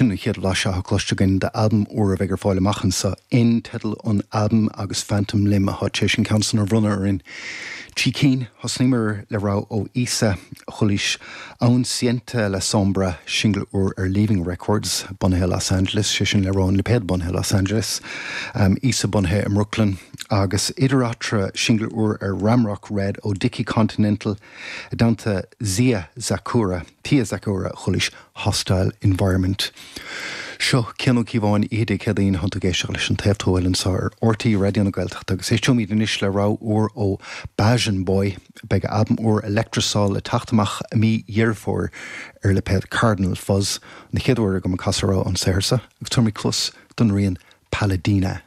Sin an chéad bhlaiseadh atá cloiste againn d'albam úr a bheidh ar fáil amach anseo. N teideal an albaim agus Phantom Limb atá tar éis an ceann san a bhronnadh orainn. Trí cinn, thosnaíomar le rogha ó Issa Chulis, Aún Siente La Sombra, singil úr ar Leaving Records, bunaithe i Los Angeles, sé sin le rá an lipéad bunaithe i Los Angeles, Issa bunaithe i mBrooklyn, agus idir eatarthu, singil úr ar Ramrock Red ó Dicky Continental i dteannta Zia Zakura, Tia Zakura Chulis. Hostile Environment. Seo Cian Ó Cíobháin, Oíche Dé Céadaoin, tánn tú ag éisteacht leis an Taobh Tuathail anseo ar RTÉ Raidió na Gaeltachta agus éisteoimid anois le rogha úr ó Bajan Boy. Beidh a albam úr Electrosol le teacht amach i mí Dheireadh Fómhair ar lipéad Cardinal Fuzz. An chéad uair agam ag casadh rogha ón saothar seo agus tabharfaimid cluas don rian Paladina.